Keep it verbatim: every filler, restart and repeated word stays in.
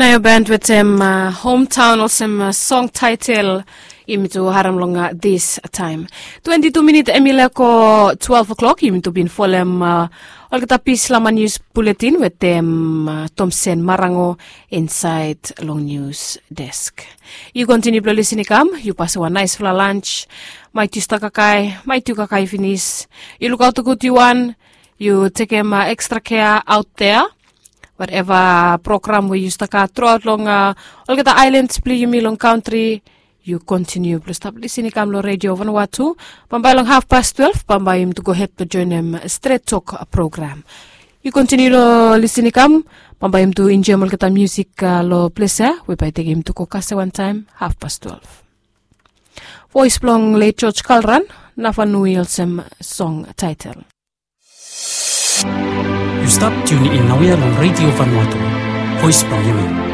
Nao band wetem homtaon olsem song taetel yumi tu harem long distaem. Twenti tu minit em i leko twelve o'klok, yumi tu bin folem olgeta pis long nius buletin wetem tomsen marango insaed long nius desk. Yu kontiniu blong lisin i kam, yu pasim wan naesfala lans. Maet yu stap kakae, maet yu kakae finis, yu lukaot gud yu wan. Yu tekem ekstra kea aot dea. Wateva program we yu stap gat truaot long olgeta aelans blong yumi long kantri, yu kontiniu blong stap lisin i kam long redio vanua tu. Bambae long hafpas twelve bambae yumi tu gohed blong joenem stret tok program. Yu kontiniu long lisin i kam. Bambae yumi tu enjoem olgeta miusik long ples ya we bae i tekem yumi tu go kasem wantaem hafpas twelve. Voes blong let joj kalran, nafanu i olsem song taetel. Yu stap tiuni in naoia long redio vanua tu, voes blong yumi.